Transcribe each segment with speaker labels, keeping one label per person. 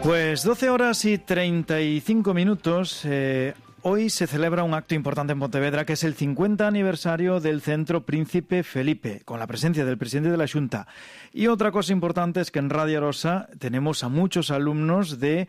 Speaker 1: Pues 12 horas y 35 minutos. Hoy se celebra un acto importante en Pontevedra, que es el 50 aniversario del Centro Príncipe Felipe, con la presencia del presidente de la Xunta. Y otra cosa importante es que en Radio Arosa tenemos a muchos alumnos del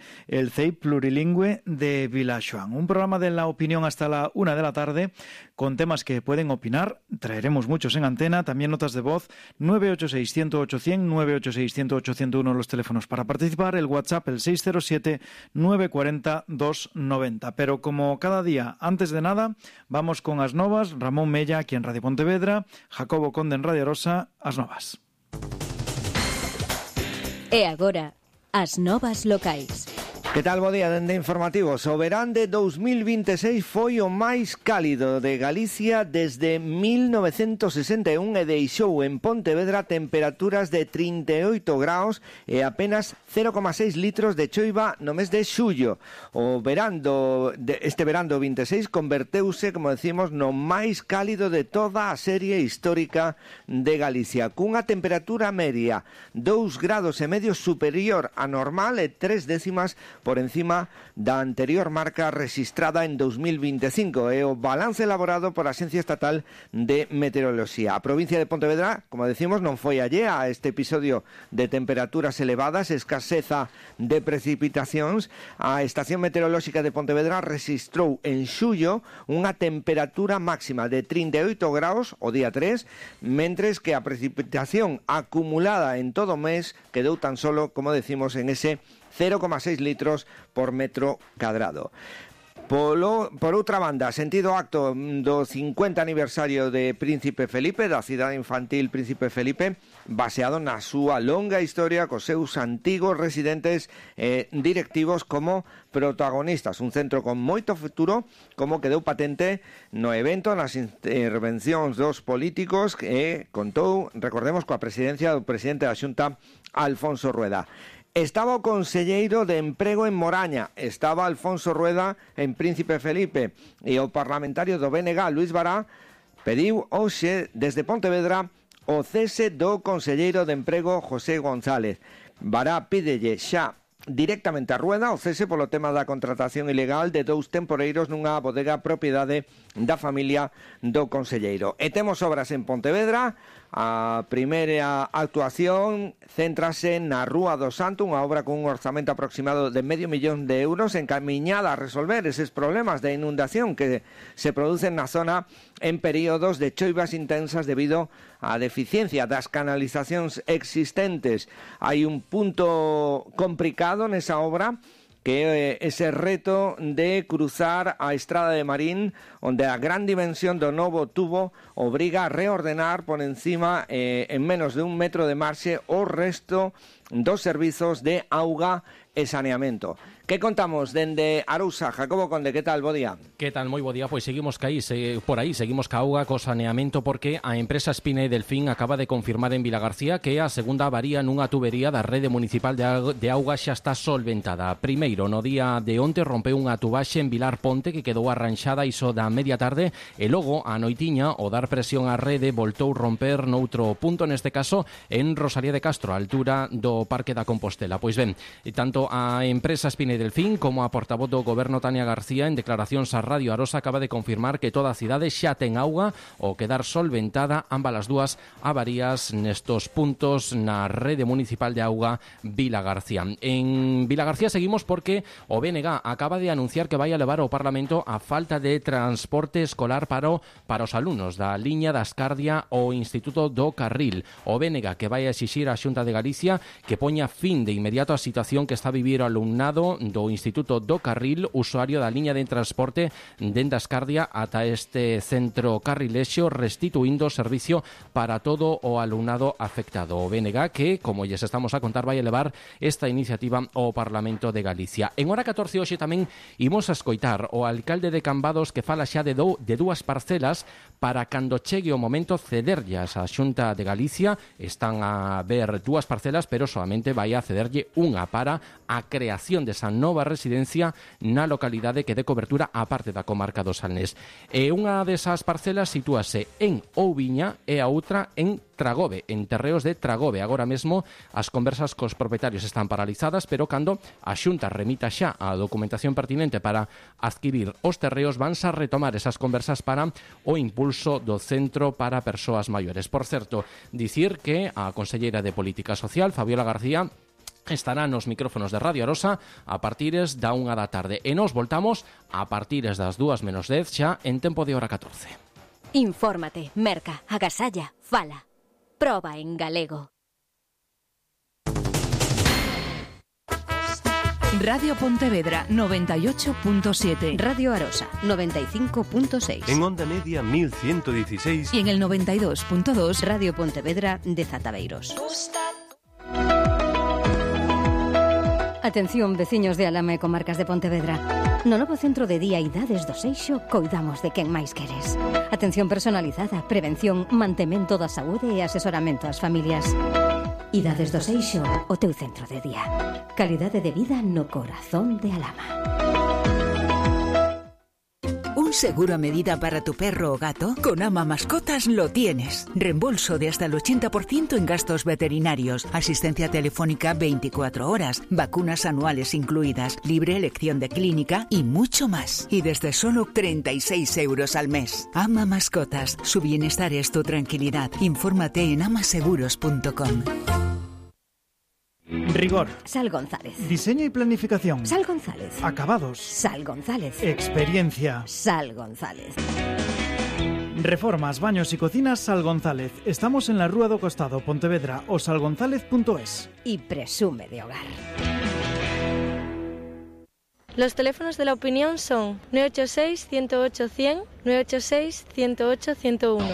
Speaker 1: CEI Plurilingüe de Vilaxoán. Un programa de la opinión hasta la 1 de la tarde, con temas que pueden opinar. Traeremos muchos en antena, también notas de voz. 986-108-100, 986-108-101 los teléfonos para participar, el WhatsApp el 607-940-290. Pero como cada día, antes de nada, vamos con as novas. Ramón Mella aquí en Radio Pontevedra, Jacobo Conde en Radio Arosa, as novas.
Speaker 2: E agora, as novas locais.
Speaker 3: Que tal, bo día, dende informativos. O verán de 2026 foi o máis cálido de Galicia desde 1961 e deixou en Pontevedra temperaturas de 38 graus e apenas 0,6 litros de choiva no mes de xullo. Este verán do 26 converteuse, como decimos, no máis cálido de toda a serie histórica de Galicia, cunha temperatura media 2 grados e medio superior a normal e 3 décimas por encima da anterior marca registrada en 2025, e o balance elaborado por a Axencia Estatal de Meteoroloxía. A provincia de Pontevedra, como decimos, non foi allea a este episodio de temperaturas elevadas e escaseza de precipitacións. A Estación Meteorolóxica de Pontevedra registrou en xullo unha temperatura máxima de 38 graus o día 3, mentres que a precipitación acumulada en todo o mes quedou tan solo, como decimos, en ese 0,6 litros por metro cadrado. Por outra banda, sentido acto do 50 aniversario de Príncipe Felipe, da cidade infantil Príncipe Felipe, baseado na súa longa historia cos seus antigos residentes directivos como protagonistas. Un centro con moito futuro, como quedou patente no evento, nas intervencións dos políticos, que contou, recordemos, coa presidencia do presidente da Xunta, Alfonso Rueda. Estaba o conselleiro de Emprego en Moraña, estaba Alfonso Rueda en Príncipe Felipe, e o parlamentario do BNG, Luis Bará, pediu hoxe desde Pontevedra o cese do conselleiro de Emprego, José González. Bará pídelle xa directamente a Rueda o cese polo tema da contratación ilegal de 2 temporeiros nunha bodega propiedade da familia do conselleiro. E temos obras en Pontevedra. A primeira actuación céntrase na Rúa do Santo, unha obra con un orzamento aproximado de €500,000 encamiñada a resolver eses problemas de inundación que se producen na zona en períodos de choivas intensas debido á deficiencia das canalizacións existentes. Hai un punto complicado nesa obra, que é ese reto de cruzar a Estrada de Marín, onde a gran dimensión do novo tubo obriga a reordenar por encima en menos de 1 metro de marxe o resto dos servizos de auga e saneamento. Que contamos dende Arousa? Jacobo Conde, que tal? Bo día.
Speaker 4: Que tal? Moi bo día. Pois seguimos por aí, seguimos ca auga, co saneamento, porque a empresa Espina e Delfín acaba de confirmar en Vilagarcía que a segunda avaría nunha tubería da rede municipal de auga xa está solventada. Primeiro, no día de onte rompeu unha tubaxe en Vilar Ponte que quedou arranxada iso da media tarde, e logo a noitiña, o dar presión á rede, voltou romper noutro punto, neste caso en Rosalía de Castro, a altura do Parque da Compostela. Pois ben, tanto a empresa Espina e Delfín como a portavoz do Goberno Tania García en declaracións a Radio Arosa acaba de confirmar que toda a cidade xa ten auga ao quedar solventada ambas as dúas avarías nestos puntos na rede municipal de auga Vilagarcía. En Vilagarcía seguimos porque o BNG acaba de anunciar que vai a levar ao Parlamento a falta de transporte escolar para os alumnos da liña da Ascardia ao Instituto do Carril. O BNG que vai a exixir á Xunta de Galicia que poña fin de inmediato a situación que está a vivir o alumnado do Instituto do Carril, usuario da liña de transporte dende Ascardia ata este centro carrilexo, restituindo o servicio para todo o alumnado afectado. O BNG que, como lles estamos a contar, vai elevar esta iniciativa ao Parlamento de Galicia. En hora 14 hoxe tamén imos a escoitar o alcalde de Cambados que fala xa de dúas parcelas para cando chegue o momento cederllas á Xunta de Galicia. Están a ver dúas parcelas, pero solamente vai a cederlle unha para a creación desa nova residencia na localidade que dé cobertura á parte da comarca do Salnés. E unha desas parcelas sitúase en Ouviña e a outra en Tragove, en terreos de Tragove. Agora mesmo as conversas cos propietarios están paralizadas, pero cando a Xunta remita xa a documentación pertinente para adquirir os terreos, vanse a retomar esas conversas para o impulso do Centro para Persoas Maiores. Por certo, dicir que a conselleira de Política Social, Fabiola García, estará nos micrófonos de Radio Arosa a partires da 1 da tarde. E nos voltamos a partires das 2:10 xa en tempo de hora 14.
Speaker 2: Infórmate, merca, agasalla, fala. Proba en galego.
Speaker 5: Radio Pontevedra 98.7.
Speaker 2: Radio Arosa 95.6.
Speaker 6: En onda media 1116.
Speaker 5: Y en el 92.2
Speaker 2: Radio Pontevedra de Zataveiros. Atención, veciños de Alama e comarcas de Pontevedra. No novo centro de día Idades do Seixo coidamos de quen máis queres. Atención personalizada, prevención, mantemento da saúde e asesoramento ás familias. Idades do Seixo, o teu centro de día. Calidade de vida no corazón de Alama.
Speaker 5: ¿Un seguro a medida para tu perro o gato? Con Ama Mascotas lo tienes. Reembolso de hasta el 80% en gastos veterinarios, asistencia telefónica 24 horas, vacunas anuales incluidas, libre elección de clínica y mucho más. Y desde solo 36 euros al mes. Ama Mascotas. Su bienestar es tu tranquilidad. Infórmate en amaseguros.com.
Speaker 1: Rigor.
Speaker 2: Sal González.
Speaker 1: Diseño y planificación.
Speaker 2: Sal González.
Speaker 1: Acabados.
Speaker 2: Sal González.
Speaker 1: Experiencia.
Speaker 2: Sal González.
Speaker 1: Reformas, baños y cocinas Sal González. Estamos en la Rúa do Costado, Pontevedra, o salgonzález.es.
Speaker 2: Y presume de hogar.
Speaker 7: Los teléfonos de la opinión son 986-108-100, 986-108-101.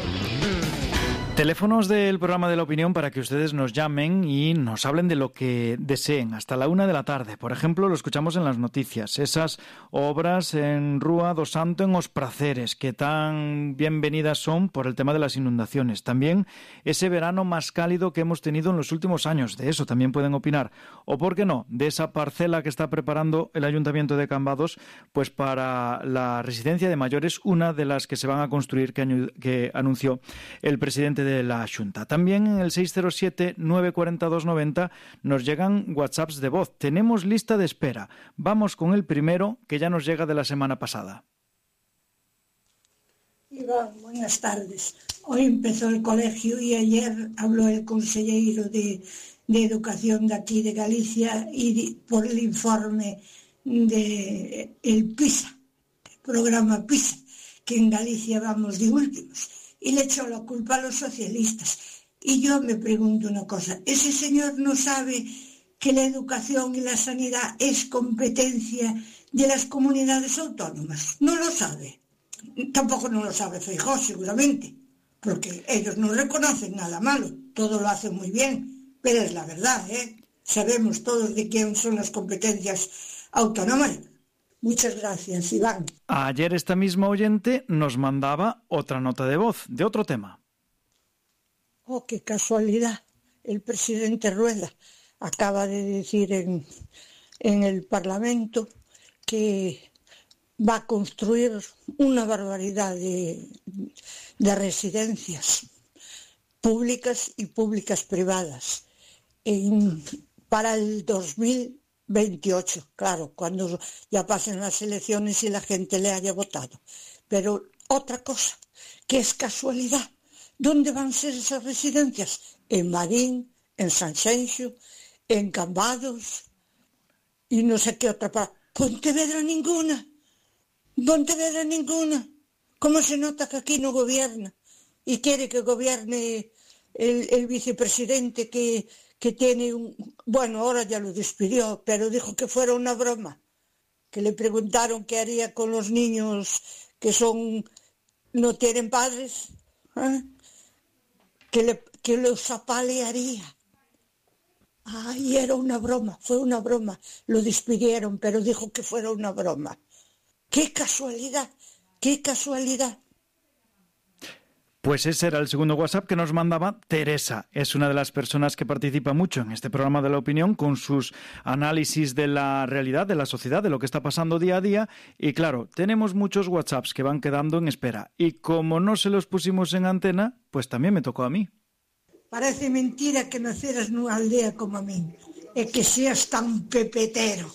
Speaker 1: Teléfonos del programa de la opinión para que ustedes nos llamen y nos hablen de lo que deseen hasta la 1 de la tarde. Por ejemplo, lo escuchamos en las noticias. Esas obras en Rúa do Santo en Os Praceres, que tan bienvenidas son por el tema de las inundaciones. También ese verano más cálido que hemos tenido en los últimos años. De eso también pueden opinar. O, ¿por qué no?, de esa parcela que está preparando el Ayuntamiento de Cambados pues para la residencia de mayores, una de las que se van a construir que anunció el presidente de la Xunta. También en el 607-942-90 nos llegan WhatsApps de voz. Tenemos lista de espera. Vamos con el primero, que ya nos llega de la semana pasada.
Speaker 8: Iván, buenas tardes. Hoy empezó el colegio y ayer habló el consejero de Educación de aquí de Galicia y por el informe de el PISA, el programa PISA, que en Galicia vamos de últimos. Y le echó la culpa a los socialistas. Y yo me pregunto una cosa, ¿ese señor no sabe que la educación y la sanidad es competencia de las comunidades autónomas? No lo sabe. Tampoco no lo sabe Feijóo, seguramente, porque ellos no reconocen nada malo, todo lo hacen muy bien, pero es la verdad, ¿eh? Sabemos todos de quién son las competencias autónomas. Muchas gracias, Iván.
Speaker 1: Ayer esta misma oyente nos mandaba otra nota de voz, de otro tema.
Speaker 8: Oh, qué casualidad. El presidente Rueda acaba de decir en el Parlamento que va a construir una barbaridad de residencias públicas y públicas privadas para el 2028, claro, cuando ya pasen las elecciones y la gente le haya votado. Pero otra cosa, que es casualidad, ¿dónde van a ser esas residencias? En Marín, en Sanxenxo, en Cambados y no sé qué otra parte. Pontevedra ninguna. ¿Cómo se nota que aquí no gobierna? Y quiere que gobierne el vicepresidente que tiene bueno, ahora ya lo despidió, pero dijo que fuera una broma, que le preguntaron qué haría con los niños que no tienen padres, ¿eh? que los apalearía. Ay, era una broma, fue una broma, lo despidieron, pero dijo que fuera una broma. ¡Qué casualidad!
Speaker 1: Pues ese era el segundo WhatsApp que nos mandaba Teresa. Es una de las personas que participa mucho en este programa de La Opinión con sus análisis de la realidad, de la sociedad, de lo que está pasando día a día. Y claro, tenemos muchos WhatsApps que van quedando en espera. Y como no se los pusimos en antena, pues también me tocó a mí.
Speaker 8: Parece mentira que naceras nunha aldea como a min e que seas tan pepetero.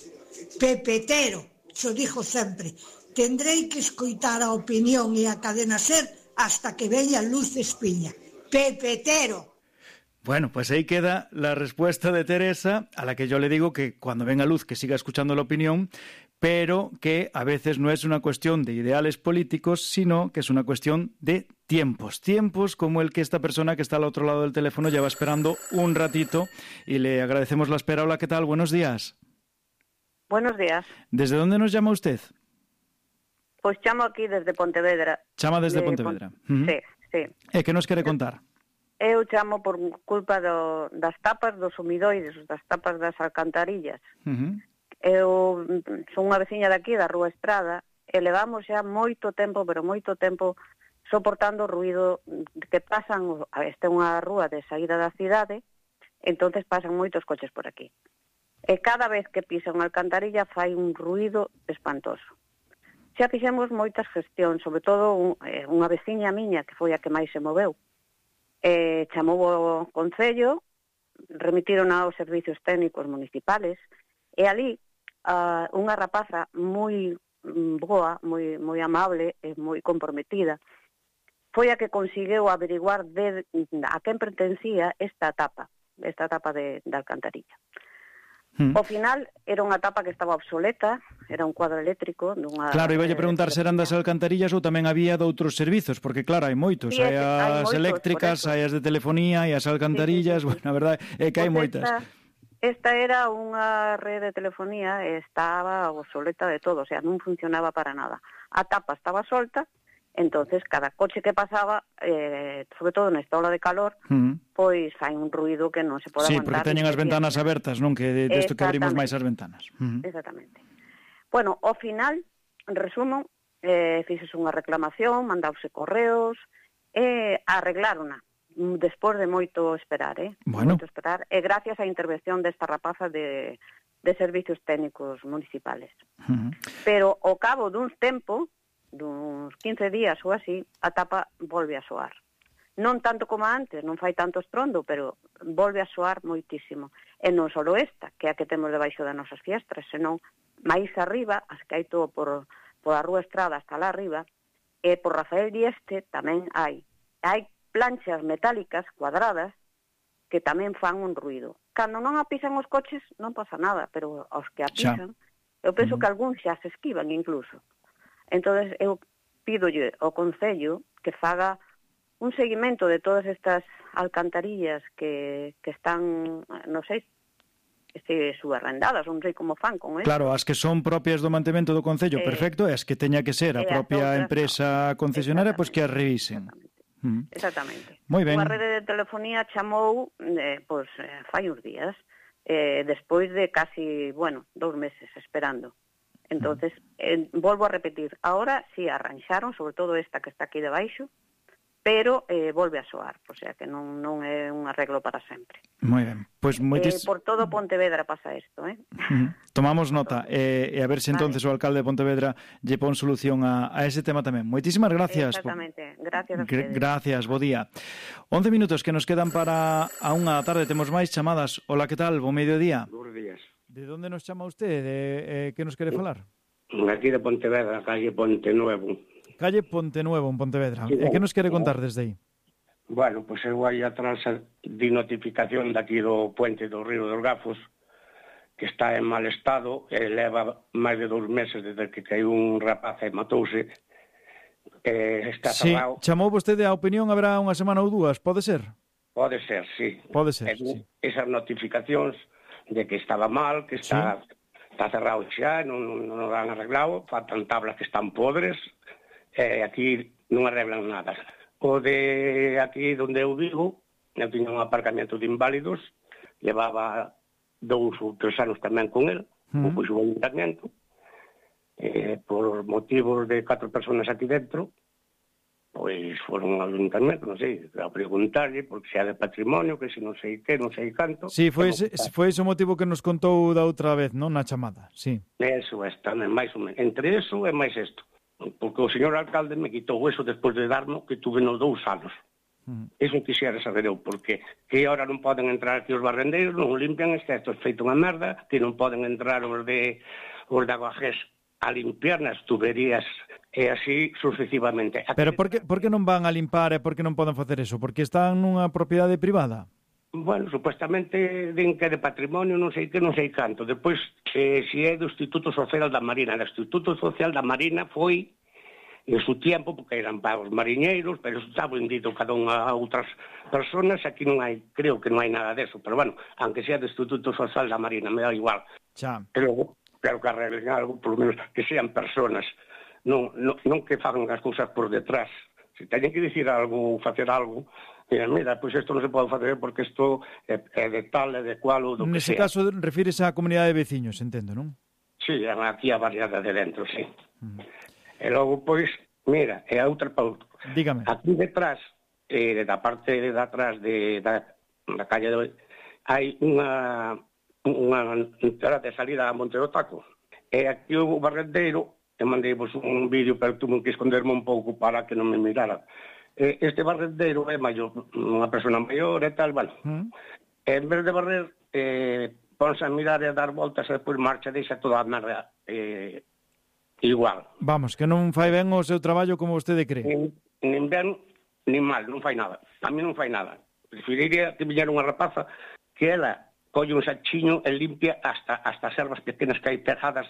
Speaker 8: Pepetero, xo digo sempre. Tendrei que escoitar a Opinión e a Cadena SER hasta que veña Luz Espiña. ¡Pepetero!
Speaker 1: Bueno, pues ahí queda la respuesta de Teresa, a la que yo le digo que cuando venga Luz que siga escuchando La Opinión, pero que a veces no es una cuestión de ideales políticos, sino que es una cuestión de tiempos. Tiempos como el que esta persona que está al otro lado del teléfono lleva esperando un ratito y le agradecemos la espera. Hola, ¿qué tal? Buenos días.
Speaker 9: Buenos días.
Speaker 1: ¿Desde dónde nos llama usted?
Speaker 9: Pois chamo aquí desde Pontevedra.
Speaker 1: Chama desde Pontevedra.
Speaker 9: Sí.
Speaker 1: E que nos quere contar?
Speaker 9: Eu chamo por culpa das tapas dos humidoides, das tapas das alcantarillas. Eu son unha veciña daqui, da Rúa Estrada, e levamos xa moito tempo, pero moito tempo, soportando o ruído que pasan. Esta é unha rúa de saída da cidade, entonces pasan moitos coches por aquí. E cada vez que pisa unha alcantarilla fai un ruído espantoso. Xa fixemos moitas gestións, sobre todo unha veciña miña, que foi a que máis se moveu. Chamou o Concello, remitiron aos servicios técnicos municipales, e ali unha rapaza moi boa, moi amable e moi comprometida, foi a que conseguiu averiguar a quen pertencía esta tapa de alcantarilla. Ao final, era unha tapa que estaba obsoleta, era un cuadro eléctrico.
Speaker 1: Claro, iba a preguntar se eran das alcantarillas ou tamén había de outros servizos, porque claro, hai moitos,
Speaker 9: sí,
Speaker 1: hai as
Speaker 9: moitos,
Speaker 1: eléctricas, hai as de telefonía, hai as alcantarillas, sí. Bueno, a verdade é que hai moitas.
Speaker 9: Esta era unha rede de telefonía e estaba obsoleta de todo, o sea, non funcionaba para nada. A tapa estaba solta, entonces cada coche que pasaba, sobre todo nesta ola de calor, pois fai un ruido que non se pode aguantar.
Speaker 1: Sí, porque teñen as ventanas abertas, non? Que desto que abrimos máis as ventanas.
Speaker 9: Exactamente. Bueno, ao final, en resumo, fixes unha reclamación, mandause correos, e arreglárona, despois de moito esperar,
Speaker 1: Bueno.
Speaker 9: Moito esperar, e gracias á intervención desta rapaza de servicios técnicos municipales. Pero ao cabo duns 15 días ou así, a tapa volve a soar. Non tanto como antes, non fai tanto estrondo, pero volve a soar moitísimo. E non só esta, que é a que temos debaixo das nosas fiestras, senón máis arriba, as que hai todo por a Rúa Estrada hasta lá arriba, e por Rafael Dieste tamén hai planchas metálicas cuadradas que tamén fan un ruido. Cando non a pisan os coches non pasa nada, pero aos que a pisan, eu penso que algúns xa se esquivan incluso. Entonces eu pídolle ao Concello que faga un seguimento de todas estas alcantarillas que están, non sei, subarrendadas, non sei como fan con eso.
Speaker 1: Claro, as que son propias do mantemento do Concello, perfecto, e as que teña que ser a propia empresa concesionaria, pois que as revisen.
Speaker 9: Exactamente.
Speaker 1: Moi ben.
Speaker 9: Unha rede de telefonía chamou, fai uns días, despois de casi, 2 meses esperando. Entonces, volvo a repetir, ahora sí arranxaron, sobre todo esta que está aquí debaixo, pero volve a soar, o sea que non é un arreglo para sempre.
Speaker 1: Moi ben. Pois
Speaker 9: por todo Pontevedra pasa isto,
Speaker 1: Tomamos nota, e a ver se entonces o alcalde de Pontevedra lle pon solución a ese tema tamén. Moitísimas gracias.
Speaker 9: Exactamente, gracias a ustedes.
Speaker 1: Gracias, bo día. 11 minutos que nos quedan para a unha da tarde, temos máis chamadas. Hola, que tal? Bo mediodía.
Speaker 10: Buenos días.
Speaker 1: De onde nos chama usted? Que nos quere falar?
Speaker 10: Aquí de Pontevedra, calle Ponte Nuevo.
Speaker 1: Calle Ponte Nuevo, en Pontevedra. E que nos quere contar desde aí?
Speaker 10: Bueno, pois eu aí atrás di notificación daqui do puente do Río dos Gafos, que está en mal estado, e leva máis de 2 meses desde que caiu un rapaz e matouse. Está cerrado.
Speaker 1: Sí, chamou vostede a opinión, haberá unha semana ou 2, pode ser?
Speaker 10: Pode ser, sí.
Speaker 1: Pode ser, sí.
Speaker 10: Esas notificacións de que estaba mal, que está cerrado xa, non o han arreglado, faltan tablas que están podres, aquí non arreglan nada. O de aquí onde eu vivo, eu tiña un aparcamento de inválidos, levaba 2 ou 3 anos tamén con el, o puxo o ayuntamiento, por motivos de 4 personas aquí dentro, pois foron ao ayuntamento, non sei, a preguntarlle, porque se é de patrimonio, que se non sei que, non sei canto.
Speaker 1: Sí, foi ese o motivo que nos contou da outra vez, non, na chamada, sí.
Speaker 10: Eso é tamén, máis ou menos. Entre eso e máis isto. Porque o señor alcalde me quitou eso despois de darmo que tuve nos 2 anos. Eso quixera saber eu, porque que ahora non poden entrar aquí os barrendeiros, non limpian excepto feito unha merda, que non poden entrar os de Aguajés a limpiar nas tuberías e así sucesivamente.
Speaker 1: Pero por que non van a limpar e por que non poden facer eso? Porque están nunha propiedade privada?
Speaker 10: Bueno, supuestamente din que é de patrimonio, non sei que, non sei canto. Depois, se é do Instituto Social da Marina. O Instituto Social da Marina foi en su tiempo, porque eran para os mariñeiros, pero eso está vendido cada unha a outras personas. Aquí non hai, creo que non hai nada deso. Pero bueno, aunque sea do Instituto Social da Marina, me dá igual.
Speaker 1: Xa.
Speaker 10: Pero claro que arreglen algo, por lo menos que sean personas, non que fagan as cousas por detrás. Se teñen que dicir algo ou facer algo, mira, pois isto non se pode facer porque isto é de tal, é de cual ou do que sea.
Speaker 1: Nese caso, refírese á comunidade de veciños, entendo, non?
Speaker 10: Sí, aquí a variada de dentro, sí. E logo, pois, mira, é a outra pauta.
Speaker 1: Dígame.
Speaker 10: Aquí detrás, da parte de atrás da calle hai unha entrada de salida a Monte do Taco. E aquí o barrendeiro, e mandei-vos un vídeo, pero tuve que esconderme un pouco para que non me mirara. Este barrendeiro é maior, unha persona maior e tal, bueno. En vez de barrer, ponse a mirar e a dar voltas e depois marcha, deixa toda a merda igual.
Speaker 1: Vamos, que non fai ben o seu traballo como vostede cree.
Speaker 10: Nin ben, nin mal, non fai nada. A mí non fai nada. Preferiría que viñera unha rapaza que ela colle un sachiño e limpia hasta as ervas pequenas que hai pegadas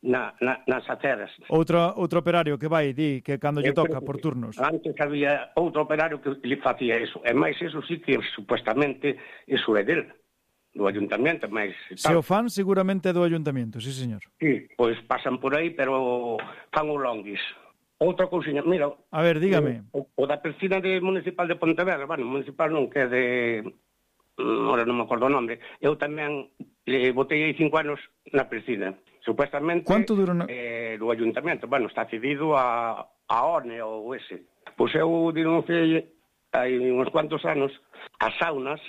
Speaker 10: nas aceras.
Speaker 1: Outro operario que vai, di, que cando lle toca, por turnos.
Speaker 10: Antes había outro operario que le facía eso. E máis eso sí que, supuestamente, eso é del, do ayuntamiento, máis...
Speaker 1: Se o fan, seguramente é do ayuntamiento, sí, señor.
Speaker 10: Sí, pois pasan por aí, pero fan o longuis. Outra cousinha, mira...
Speaker 1: A ver, dígame.
Speaker 10: O da piscina municipal de Pontevedra, bueno, municipal non, que é de... Ahora non me acordo o nome. Eu tamén botei aí 5 anos na piscina. Supuestamente...
Speaker 1: Quanto dura
Speaker 10: do ayuntamiento. Bueno, está cedido a ONE ou ese. Pois eu denunciei hai uns cuantos anos as saunas,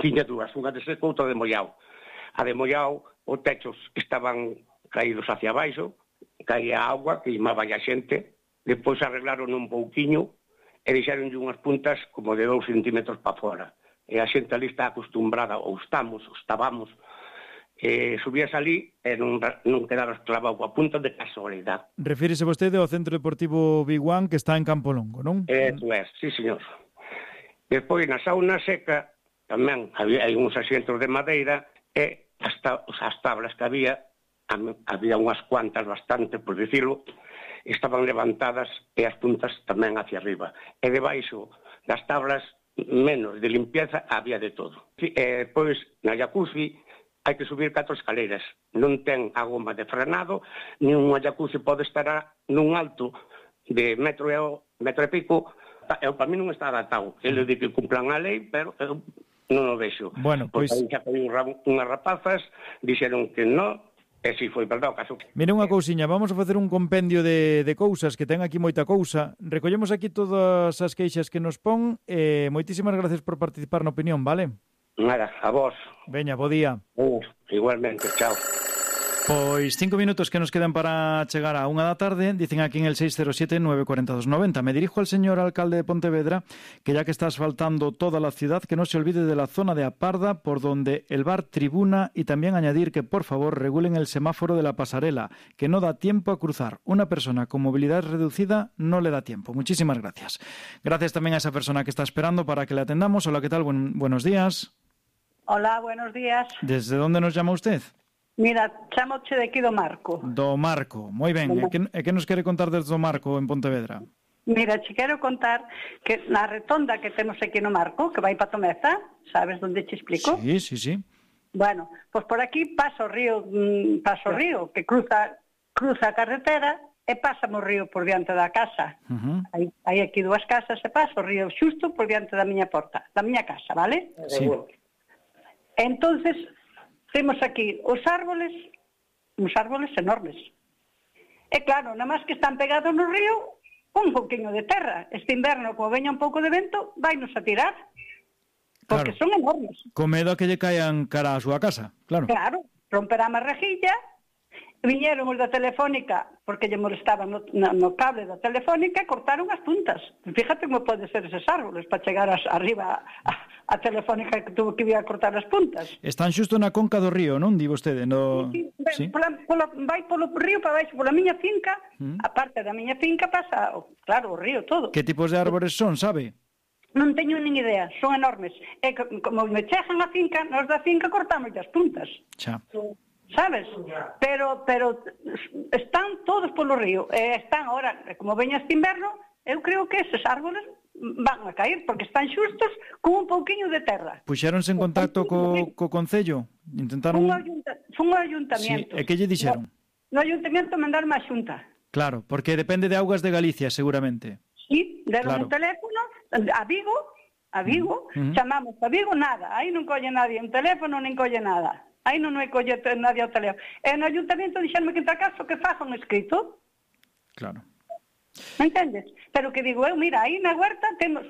Speaker 10: tiña dúas, unha de seco, outra de mollao. A de mollao, os techos estaban caídos hacia abaixo, caía agua, queimaba a xente, depois arreglaron un pouquiño e deixaronlle unhas puntas como de 2 centímetros para fora. E a xente ali está acostumbrada, ou estábamos, subías ali e non quedabas clavado a punta de casualidade.
Speaker 1: Refírese vostede ao Centro Deportivo Biguán que está en Campo Longo, non?
Speaker 10: Eso é, sí, señor. Despois, na sauna seca, tamén hai uns asientos de madeira e as tablas que había unhas cuantas bastante, por dicirlo, estaban levantadas e as puntas tamén hacia arriba. E debaixo das tablas, menos de limpieza, había de todo. E depois, na jacuzzi, hai que subir 4 escaleiras. Non ten a goma de frenado, nin unha jacuzzi pode estar nun alto de metro e pico. Para mí non está adaptado. Ele di que cumplan a lei, pero eu non o vexo.
Speaker 1: Bueno, pois...
Speaker 10: Porque aí xa foi unhas rapazas, dixeron que non, e si foi verdade o caso.
Speaker 1: Mire unha cousiña, vamos a facer un compendio de cousas, que ten aquí moita cousa. Recollemos aquí todas as queixas que nos pon, e moitísimas gracias por participar na opinión, vale?
Speaker 10: Nada, a vos.
Speaker 1: Veña, bo día.
Speaker 10: Igualmente, chao.
Speaker 1: Pois 5 minutos que nos quedan para chegar a 1 da tarde, dicen aquí en el 607-942-90. Me dirijo al señor alcalde de Pontevedra, que ya que está asfaltando toda la ciudad, que no se olvide de la zona de Aparda, por donde el bar Tribuna, y también añadir que por favor regulen el semáforo de la pasarela, que no da tiempo a cruzar. Una persona con movilidad reducida no le da tiempo. Muchísimas gracias. Gracias también a esa persona que está esperando para que le atendamos. Hola, ¿qué tal? Buenos días.
Speaker 11: Hola, buenos días.
Speaker 1: ¿Desde dónde nos llama usted?
Speaker 11: Mira, chamoche de aquí do Marco.
Speaker 1: Do Marco, moi ben. E que nos quere contar desde do Marco en Pontevedra?
Speaker 11: Mira, che quero contar que na retonda que temos aquí no Marco, que vai para Tomeza, sabes onde te explico?
Speaker 1: Sí, sí, sí.
Speaker 11: Bueno, pois por aquí pasa o río, que cruza a carretera e pasa o río por diante da casa. Hai aquí 2 casas e pasa o río xusto por diante da miña porta, da miña casa, vale?
Speaker 1: Sí.
Speaker 11: Entonces, temos aquí uns árboles enormes. E claro, nada máis que están pegados no río, un pouquinho de terra. Este inverno, como veña un pouco de vento, vainos a tirar. Porque son enormes.
Speaker 1: Con medo a que lle caían cara a súa casa, claro.
Speaker 11: Claro, romperá a rejilla. Viñeron os da Telefónica, porque lle molestaban no cable da Telefónica, e cortaron as puntas. Fíjate como pode ser eses árboles para chegar arriba a Telefónica, que tuvo que ir a cortar as puntas.
Speaker 1: Están xusto na conca do río, non? Di vostede, no...
Speaker 11: Sí. Vai polo río para baixo, pola miña finca, a parte da miña finca pasa, claro, o río todo.
Speaker 1: Que tipos de árbores son, sabe?
Speaker 11: Non teño nin idea, son enormes. E como me chegan a finca, nos da finca cortamos as puntas.
Speaker 1: Xa.
Speaker 11: Sabes? Pero están todos polo río. Están ahora, como veña este inverno, eu creo que eses árboles van a caer, porque están xustos con un pouquiño de terra.
Speaker 1: Puxéronse en contacto co Concello? Intentaron...
Speaker 11: Fun ao ayuntamiento.
Speaker 1: Sí. E que lle dixeron?
Speaker 11: No ayuntamiento mandaron a xunta.
Speaker 1: Claro, porque depende de Augas de Galicia, seguramente.
Speaker 11: Sí, deron un teléfono a Vigo, chamamos a Vigo, nada. Aí non colle nadie un teléfono, nin colle nada. Aí non hai colle nadie ao teléfono. E no ayuntamiento dixeronme que entre caso que faja un escrito.
Speaker 1: Claro.
Speaker 11: Me entendes? Pero que digo eu, mira, aí na huerta temos